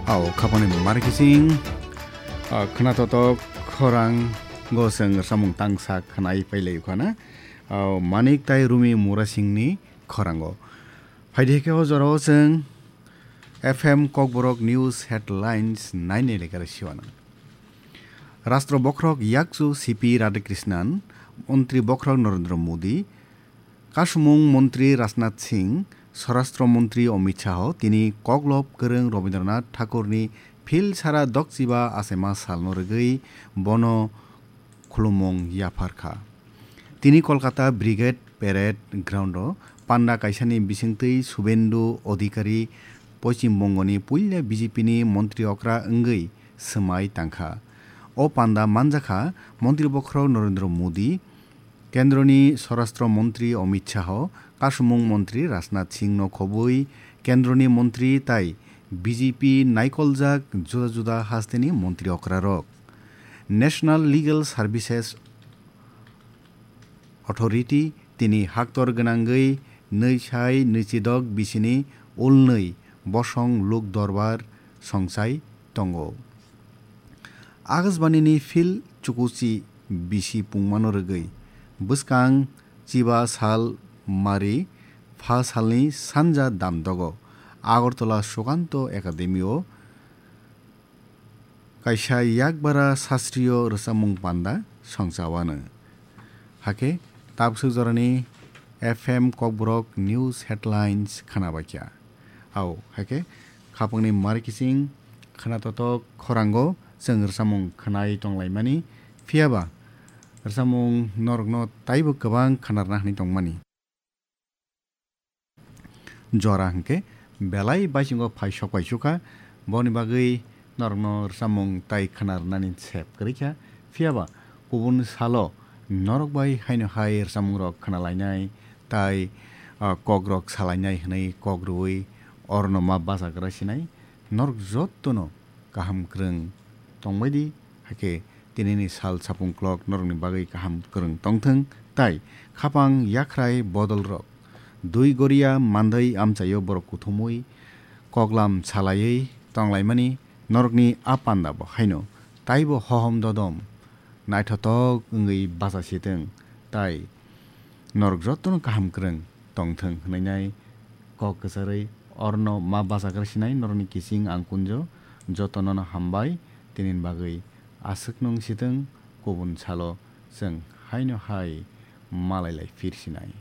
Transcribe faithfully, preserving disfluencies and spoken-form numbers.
Ao khapani mari kising, ah, khna totok khorang go seng samung tangsa khnai pailai khana. Ao Manik tai Rumi Murasingni khorango. Phaidi khe o jorao seng F M Kokborok News Headlines naini lekar siwana. Rastro bokhorok yakchu C P Radhakrishnan, Montri bokhorok Narendra Modi, Kasumung Montri Rajnath Singh, Swarashtra Montri Amit Shah tini Koklob Kwrwng Rabindranath Thakurni phil sara dokchiba achaima salno rwgwi bono khulumung yaphar kha. Tini Kolkata Brigade Parade Ground-o panda kaisani bisingtwi Subendu Adhikari Poschim Bongoni puila B J P ni montri okra wngwi swmai tangkha. O panda manjakha Montri bokhorok Narendra Modi, Kendroni Swarashtra Montri Amit Shah, Kasumung Montri Rajnath Singh no khobwi Kendroni Montri tai B J P naikoljak juda juda hasteni montri okrarok. National Legal Services Authority tini haktor gwnangwi nwi sai nwichidok bisini ulnwi bosong luk dorbar songchai tongo. Akashbanini phil chukuchi bisi pungmano rwgwi bwskang chiba sal mari pha salni sanja damdogo Agartala Sukanto Academy o kaisa yakbara sastriyo rwchapmung panda songchawano. Hakhe tabswk jorani F M Kokborok News Headlines khnabaikha. Ao, hakhe khapangni mari kising khna totok khorango chwng rwchapmung khnai tonglaimani, phiyaba rwchapmung norokno taibo kwbang khnarna hwnwi tongmani. Jora hwnkhe belai baisingo phai sok pai sukha, boni bagwi norokno rwchapmung tai khna rwnani sep kwrwi kha. Phiyaba kubun salo norok bai haino hai rwchapmungrok khna lainai tai, ah, kokrok sa lainai hwnwi kok rwui orno ma bachagra sinai. Norok jotono kaham kwrwng tongbai di, hakhe tinini sal sapung klok norokni bagwi kaham kwrwng tongthwng, tai khapang yakhrai bodolrok dui goria mandai amchaio borok kuthumui koklam salaiwi tonglaimani norokni a panda bo haino taibo hohom dodom naithotok wngwi bacha sitwng, tai norok jotono kaham kwrwng tongthwng hwnwi nai kok kwcharwi orno ma bachagra sinai norokni kising ang kunjo jotonono hambai tinini bagwi aswk nung sitwng kubun salo chwng haino hai malai lai phir sinai.